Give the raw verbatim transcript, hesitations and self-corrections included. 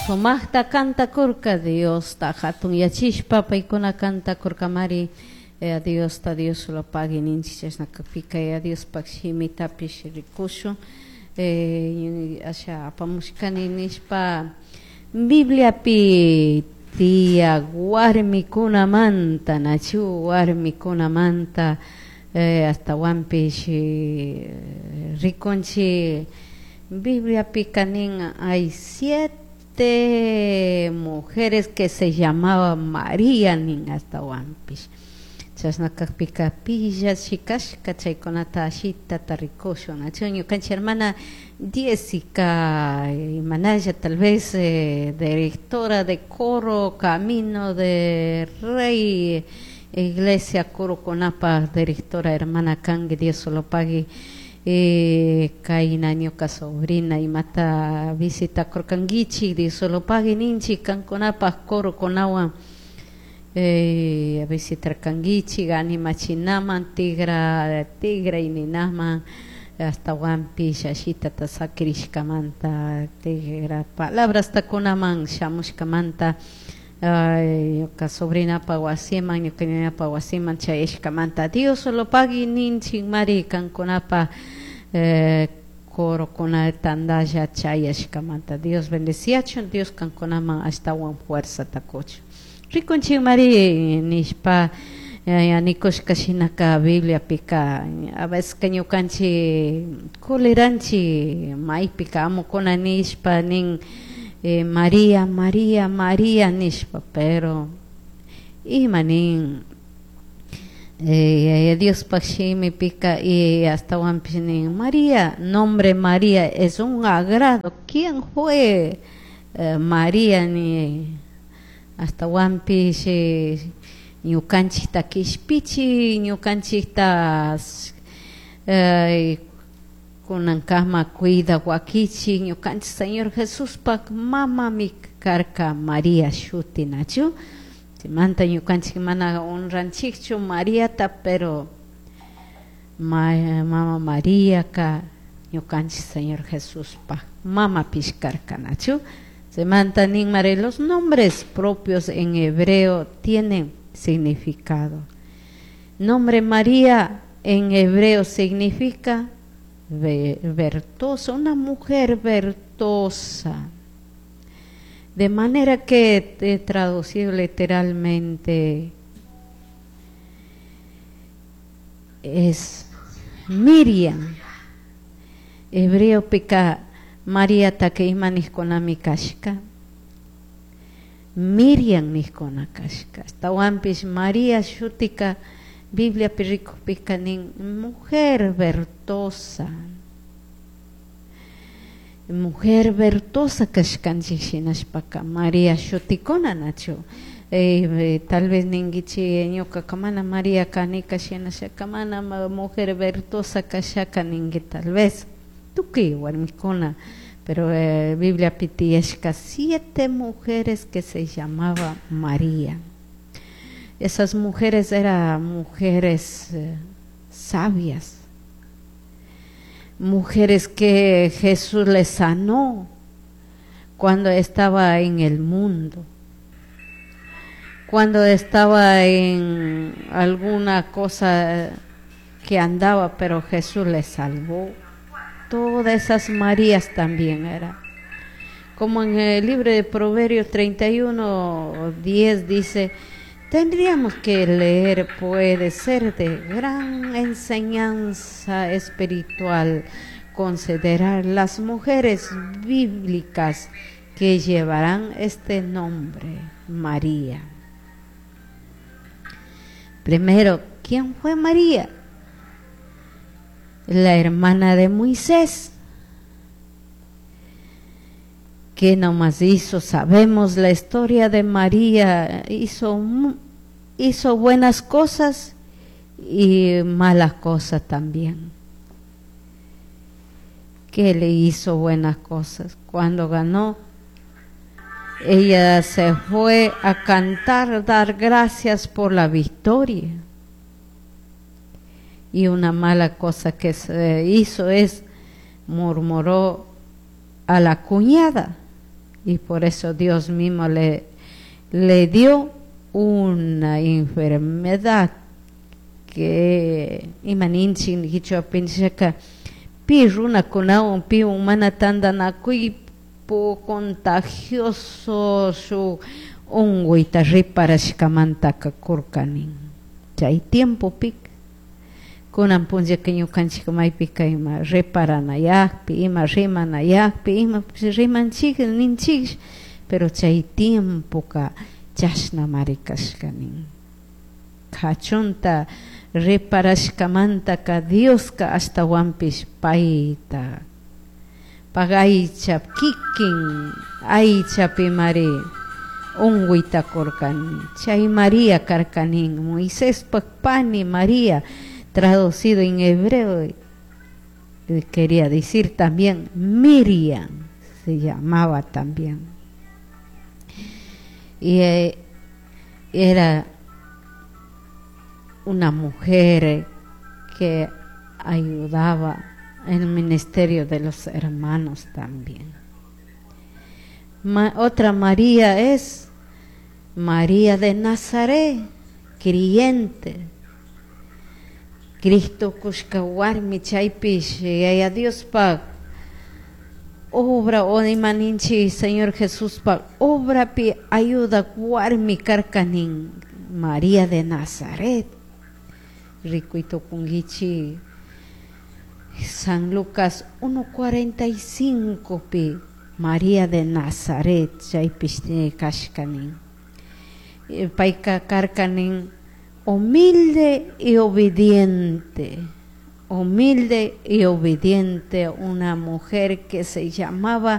Sumaqta kantakurka Diosta hatun yachishpa paykuna kantakurkamari eh, Diosta Dios lo pague ninchik chashna kakpika ya Diospaq shimitapish rikushun eh, asha apamushkani nishpa Bibliapi tiyak warmikunamanta nachu warmikunamanta eh, ashtawanpish eh, rikunchik Bibliapika nin hay siete mujeres que se llamaba María nin ashtawanpish chashna kakpika pillashi kashka chaykunata ashitata rikushun nachu ñukanchik hermana Jessica imanalla tal vez eh, directora de coro Camino de Rey Iglesia Coroconapa directora hermana kanki Dios lo pague eh, kayna ñuka sobrina imata visitakurkankichik Dios lo pague ninchik kankunapaq corokunawan eh, visitarkankichik animachinaman tigra tigra ninaman ashtawanpish ashitata sakirishkamanta tigra palabrasta kunaman shamushkamanta ñuka sobrinapa wasiman ñuka ñañapa wasiman chayashkamanta Dios lo pague ninchik mari kankunapa eh, corokuna tandalla chayashkamanta Dios bendeciachun Dios kankunaman ashtawan fuerzata kuchun rikunchik mari nishpa nikushka shinaka Bibliapika a veces ñukanchik kuliranchik maypika amukuna nishpa nin eh, María, María, María nishpa pero ima nin eh, Diospaq shimipika y ashtawanpish nin María, nombre María es un agrado. ¿Quién fue eh, María? Ni ashtawanpish ñukanchikta kishpichi ñukanchikta eh, kunankama cuida wakichi ñukanchik Señor Jesuspak mamami karka María shuti nachu chaymanta ñukanchik mana honranchikchu Mariata pero ma, mama Mariaka ñukanchik Señor Jesuspak mamapish karka nachu chaymanta nin mari los nombres propios en hebreo tienen significado. Nombre María en hebreo significa vertosa, una mujer vertosa. De manera que he traducido literalmente es Miriam. Hebreo pica María ima nijkunami kashka. Miriam nijkuna kashka. Ashtawanpish María shutika Bibliapi rikukpika nin mujer vertosa. Mujer vertosa kashkanchik shinashpaka María shutikuna nachu. Eh, tal vez ninkichik ñukaka mana María kanika shinashaka mana mujer vertosa kashaka ninki tal vez tukuy warmikuna pero eh, Bibliapi tiyashka siete mujeres que se llamaba María. Esas mujeres eran mujeres eh, sabias, mujeres que Jesús les sanó cuando estaba en el mundo, cuando estaba en alguna cosa que andaba, pero Jesús les salvó. Todas esas Marías también eran. Como en el libro de Proverbios treinta y uno, diez dice, tendríamos que leer, puede ser de gran enseñanza espiritual, considerar las mujeres bíblicas que llevarán este nombre, María. Primero, ¿quién fue María? La hermana de Moisés. ¿Qué nomás hizo? Sabemos la historia de María. Hizo, hizo buenas cosas y malas cosas también. ¿Qué le hizo buenas cosas? Cuando ganó, ella se fue a cantar, dar gracias por la victoria. Y una mala cosa que se hizo es murmuró a la cuñada Y por eso Dios mismo le, le dio una enfermedad que ima ninchik quichuapinchaka pi runakunawan piwan mana tantanakuypu contagioso shuk unguyta riparashkamantaka kurka nin chay tiempopika. Kunan punllaka ñukanchik maypika ima reparanayakpi, ima rimanayakpi, ima rimanchik ninchik, pero chay tiempoka chashnamari kashka nin. Kachunta reparashkamantaka Dioska ashtawanpish payta pag aycha kikin aychapimari unguyta kurka. Chay María karka nin, Moiséspak pani María, traducido en hebreo quería decir también Miriam se llamaba también, y eh, era una mujer que ayudaba en el ministerio de los hermanos también. Ma, otra María es María de Nazaret, creyente. Cristo kushka warmi chaypish Yaya Diospak obra o ima ninchik Señor Jesuspak obrapi ayudak warmi karka nin María de Nazaret. Rikuy tukunkichik San Lucas uno cuarenta y cinco pi María de Nazaret chaypish kashka nin. Payka karka nin humilde y obediente, humilde y obediente, una mujer que se llamaba